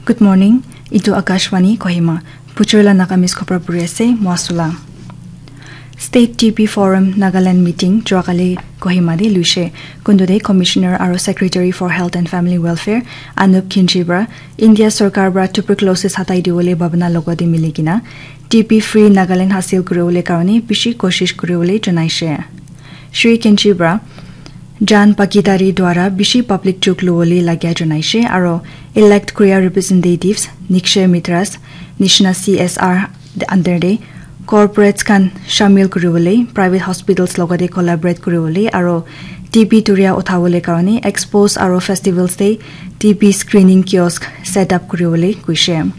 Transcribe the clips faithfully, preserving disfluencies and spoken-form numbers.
Good morning. Itu Akashvani Kohima. Puchurla Nagamese khopra puri ase, Mwasula. State T B Forum Nagaland meeting Juakali Kohima de luishe. Kundu de Commissioner aro Secretary for Health and Family Welfare Anup Khinchi bra India Sarkar bra tuberculosis hatai diwole babana logo de milikina T B free Nagaland hasil kuriwole karone bishi koshish kuriwole janaishe. Shri Khinchi bra Jan Bhagidari dwara bishi public chuk luwole lagya janaishe aro elect kuria representatives Nikshay Mitras nishina C S R under de corporates khan shamil kuriwole, private hospitals logote collaborate kuriwole aro T B turia uthawole karone expos aro festivals de T B screening kiosk set up kuriwole kuishe.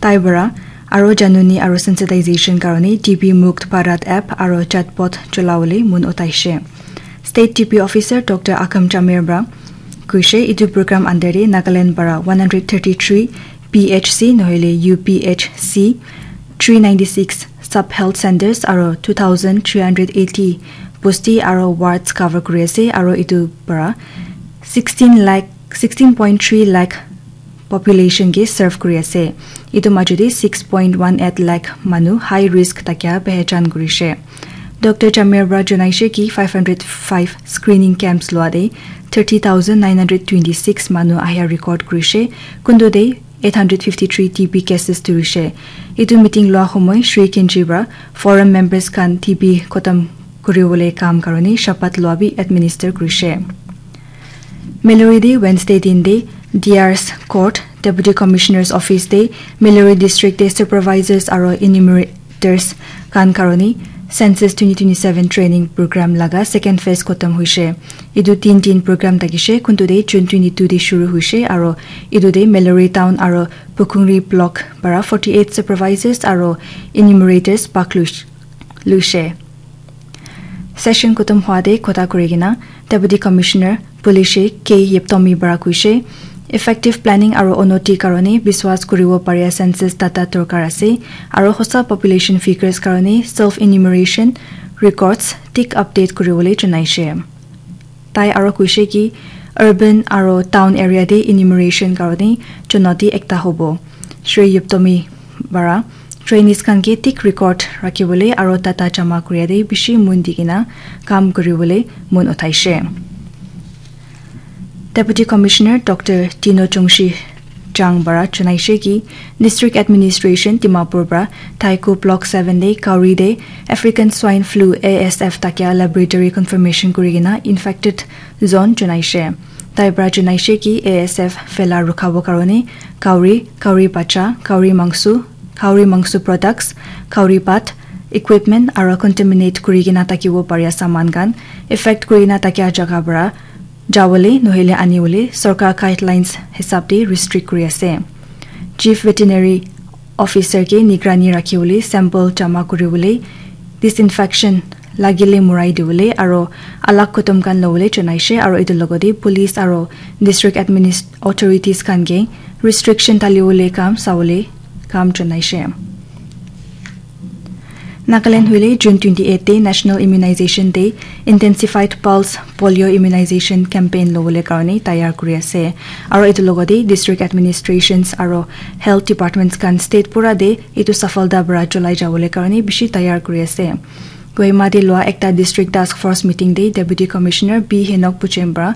Tai bra aro januni aro sensitization karone T B Mukt Bharat app aro chatbot cholawole mun utaishe. State T B Officer Doctor Akam Chamir bra kuishe itu program under de Nagaland bra one hundred thirty-three P H C nohole U P H C, three ninety-six sub health centers aro two thousand three hundred eighty bosti aro wards cover kuri ase aro itu bra sixteen lakh, sixteen point three lakh population ke serve kuri ase. Itu majo de six point one eight lakh manu high risk thakia pehchan kurishe. Doctor Chamir bra janaishe ki five hundred five screening camps lua de thirty thousand nine hundred twenty-six manu ahia record kurishe. Kundu de eight hundred fifty-three T B cases turishe. Itu meeting lua homoi Shri Khinchi bra forum members khan T B khotom kuriwole kam karone shapat lua bi administer kurishe. Mallory de Wednesday din de D R's Court, Deputy Commissioner's Office de Mallory District de supervisors aro enumerators khan karone census twenty twenty-seven training program laga second phase khotom huishe. Itu tin tin program thakishe, kuntu de June twenty-two de shuru huishe aro itu de Mallory Town aro Pukungri Block para forty-eight supervisors aro enumerators bhag luish-, luishe. Session khotom hua de kotha kuri kena Deputy Commissioner Pulishe K Yeptomi para kuishe, effective planning aro unnoti karone biswas kuribo paria census data dorkar ase, aro hosa population figures karone self enumeration records thik update kuribole janaishe. Tai aro kuishe ki urban aro town area de enumeration karone chunauti ekta hobo. Shri Yeptomi para trainees khan ke thik record rakhibole aro data jama kuria de bishi mon di kena kam kuribole mon uthaishe. Deputy Commissioner Doctor Tino Chungshi Chang para janaishe ki District Administration Dimapur para Thaiku Block seven de Kauri de African Swine Flu, A S F, thakia laboratory confirmation kuri kena infected zone janaishe. Tai para janaishe ki A S F phela rukhabo karone Kauri, Kauri bacha, Kauri mangsu, Kauri mangsu products, Kauri pat, equipment aro contaminate kuri kena thakibo paria saman khan affect kuri kena thakia jaga para jawole nohile aniwole sorkar guidelines hisab de restrict kuri ase. Chief Veterinary Officer ke nigrani rakhibole sample jama kuribole, disinfection lagile murai dibole aro alag khotom khan lobole janaishe aro etu logote police aro district administ-, authorities khan ke restriction dalibole kam sabole kam janaishe. Nagaland hoile June twenty-eight de National Immunization Day, Intensified Pulse Polio Immunization Campaign lobole karone tayar kuri ase. Aro etu logote district administrations aro health departments khan state pura de etu safalta para cholai jabole karone bishi tayar kuri ase. Kohima de lua ekta district task force meeting de Deputy Commissioner B Henok Puchem para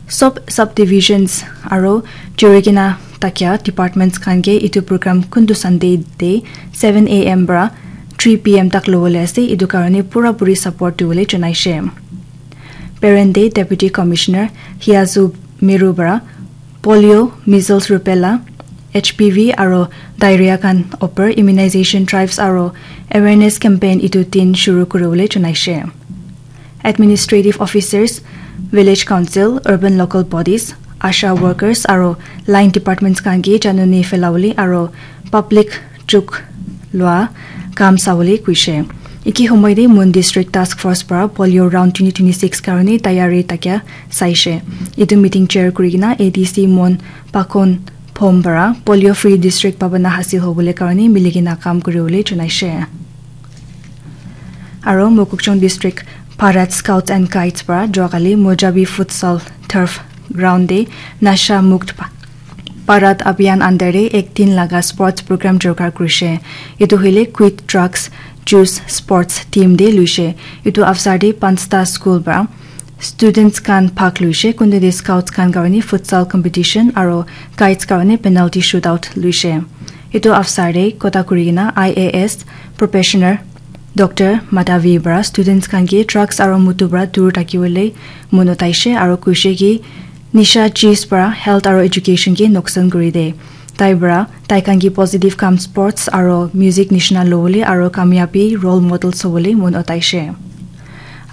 sob subdivisions aro juri kena thakia departments khan ke etu program kuntu Sunday de seven A M para three P M tak lobole ase, etu karone pura puri support dibole janaishe. Parent de Deputy Commissioner Hiazu Meru para polio, measles, rubella, H P V aro diarrhea khan upor immunization drives aro awareness campaign etu din shuru kuribole janaishe. Administrative officers, village council, urban local bodies, ASHA workers aro line departments khan ke januni phelabole aro public chuk lua kam sabole kuishe. Eki homoi de Mon District Task Force para polio round twenty twenty-six karone tayari thakia saishe. Etu meeting chair kuri kena A D C Mon Pakon Phom para polio free district pabana hasil hobole karone mili kena kam kuribole janaishe. Aro Mokokchung District Bharat Scouts and Guides para juakali Mojabi Futsal Turf Ground de Nasha Mukt pa-, Bharat Abhiyan under te ek din laga sports program jorkar kurishe. Etu hoile Quit Drugs, Choose Sports theme te luishe. Etu avsar te panchta school para students khan bhag luishe, kunte te scouts khan karone futsal competition aro guides karone penalty shootout luishe. Etu avsar te kotha kuri kena I A S professional Doctor Madhavi para students khan ke drugs aro moto para dur thakibole mon otaishe aro koishe ki nisha cheez para health aro education ke noksan kuri de. Tai para tai khan ke positive kam sports aro music nishina lobole aro kamiyabi role models hobole mon otaishe.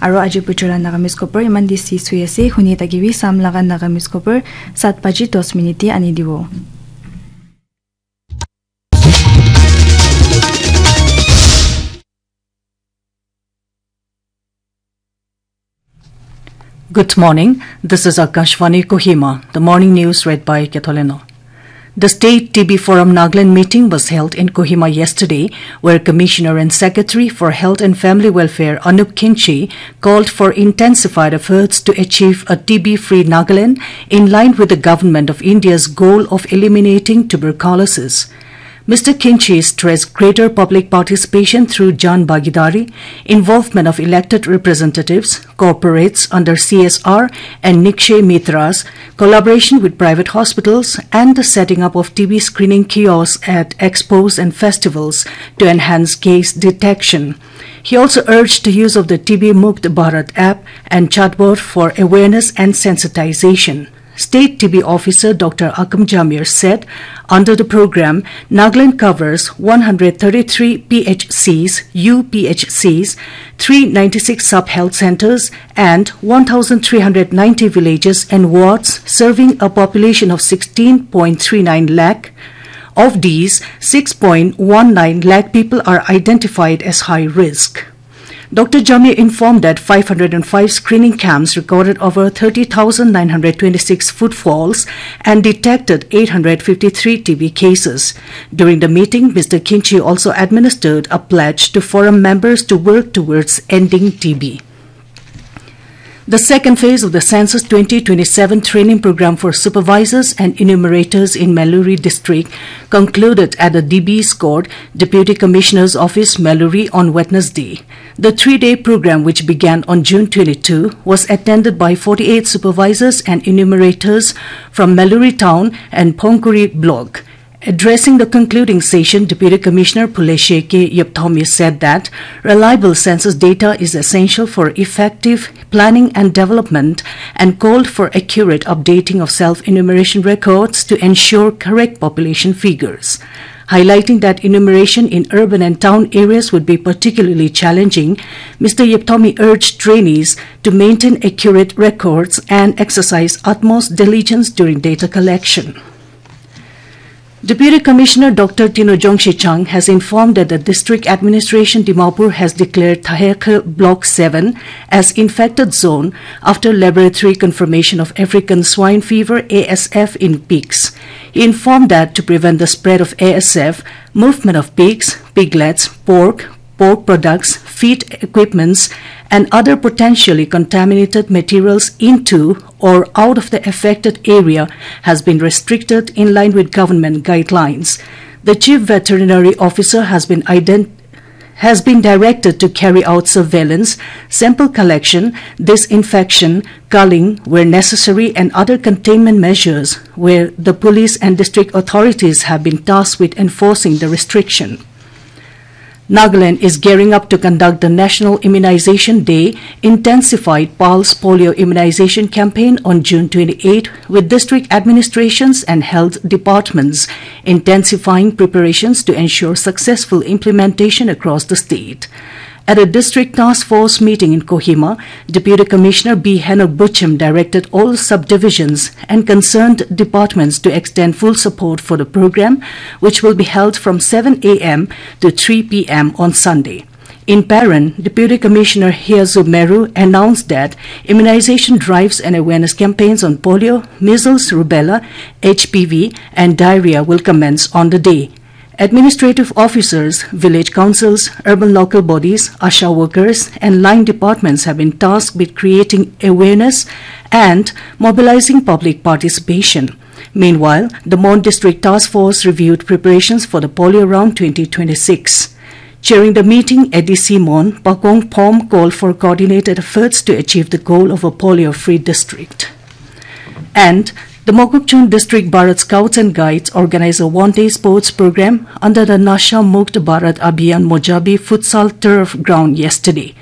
Aro aji puchula Nagamese khobor iman te ses hoi ase, huni thakibi sam laga Nagamese khobor saat baji dos minute te ani dibo. Good morning. This is Akashvani Kohima. The morning news read by Ketholeno. The State T B Forum Nagaland meeting was held in Kohima yesterday, where Commissioner and Secretary for Health and Family Welfare Anup Khinchi called for intensified efforts to achieve a T B-free Nagaland in line with the Government of India's goal of eliminating tuberculosis. Mister Khinchi stressed greater public participation through Jan Bhagidari, involvement of elected representatives, corporates under C S R and Nikshay Mitras, collaboration with private hospitals, and the setting up of T B screening kiosks at expos and festivals to enhance case detection. He also urged the use of the T B Mukt Bharat app and chatbot for awareness and sensitization. State T B officer Doctor Akam Jamir said, under the program, Nagaland covers one hundred thirty-three P H Cs, U P H Cs, three ninety-six sub-health centers, and one thousand three hundred ninety villages and wards, serving a population of sixteen point three nine lakh. Of these, six point one nine lakh people are identified as high risk. Doctor Jamir informed that five hundred and five screening camps recorded over thirty thousand nine hundred twenty-six footfalls and detected eight hundred fifty-three T B cases. During the meeting, Mister Khinchi also administered a pledge to forum members to work towards ending T B. The second phase of the Census twenty twenty-seven training program for supervisors and enumerators in Meluri district concluded at the D B's court, Deputy Commissioner's Office, Meluri, on Wednesday. The three-day program, which began on June twenty-two, was attended by forty-eight supervisors and enumerators from Meluri town and Phongkuri block. Addressing the concluding session, Deputy Commissioner Phulesheke Yepthomi said that reliable census data is essential for effective planning and development and called for accurate updating of self-enumeration records to ensure correct population figures. Highlighting that enumeration in urban and town areas would be particularly challenging, Mister Yepthomi urged trainees to maintain accurate records and exercise utmost diligence during data collection. Deputy Commissioner Doctor Tino Jongshi Chang has informed that the District Administration Dimapur has declared Thahekhe Block seven as infected zone after laboratory confirmation of African swine fever, A S F, in pigs. He informed that to prevent the spread of A S F, movement of pigs, piglets, pork, pork products, feed equipments, and other potentially contaminated materials into or out of the affected area has been restricted in line with government guidelines. The Chief Veterinary Officer has been ident-, has been directed to carry out surveillance, sample collection, disinfection, culling where necessary, and other containment measures where the police and district authorities have been tasked with enforcing the restriction. Nagaland is gearing up to conduct the National Immunization Day Intensified Pulse Polio Immunization Campaign on June twenty-eighth, with district administrations and health departments intensifying preparations to ensure successful implementation across the state. At a district task force meeting in Kohima, Deputy Commissioner B Henok Buchim directed all subdivisions and concerned departments to extend full support for the program, which will be held from seven a m to three p m on Sunday. In Peren, Deputy Commissioner Hiazu Meru announced that immunization drives and awareness campaigns on polio, measles, rubella, H P V, and diarrhea will commence on the day. Administrative officers, village councils, urban local bodies, ASHA workers, and line departments have been tasked with creating awareness and mobilizing public participation. Meanwhile, the Mon District Task Force reviewed preparations for the polio round twenty twenty-six. During the meeting, A D C Mon, Pakong Phom called for coordinated efforts to achieve the goal of a polio-free district. And the Mokokchung District Bharat Scouts and Guides organized a one-day sports program under the Nasha Mukt Bharat Abhiyan Mojabi Futsal Turf Ground yesterday.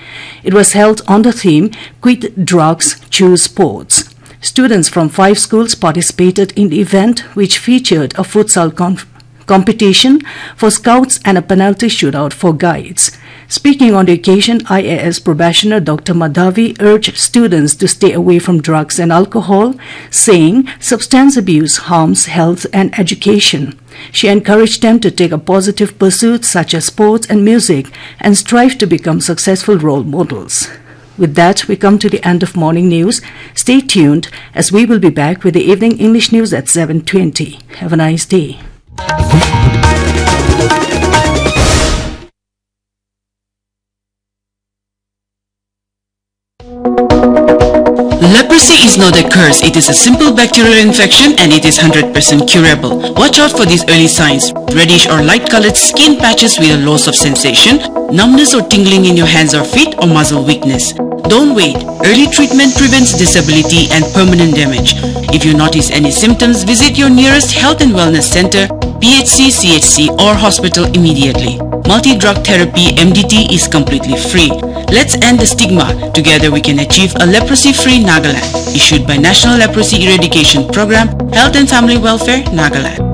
It was held on the theme Quit Drugs, Choose Sports. Students from five schools participated in the event, which featured a futsal conf- competition for scouts and a penalty shootout for guides. Speaking on the occasion, I A S probationer Doctor Madhavi urged students to stay away from drugs and alcohol, saying substance abuse harms health and education. She encouraged them to take a positive pursuit such as sports and music and strive to become successful role models. With that, we come to the end of morning news. Stay tuned as we will be back with the evening English news at seven twenty. Have a nice day. Leprosy is not a curse, it is a simple bacterial infection and it is hundred percent curable. Watch out for these early signs: reddish or light colored skin patches with a loss of sensation, numbness or tingling in your hands or feet, or muscle weakness. Don't wait. Early treatment prevents disability and permanent damage. If you notice any symptoms, visit your nearest health and wellness center, P H C, C H C, or hospital immediately. Multi drug therapy, M D T, is completely free. Let's end the stigma. Together we can achieve a leprosy free Nagaland. Issued by National Leprosy Eradication Program, Health and Family Welfare, Nagaland.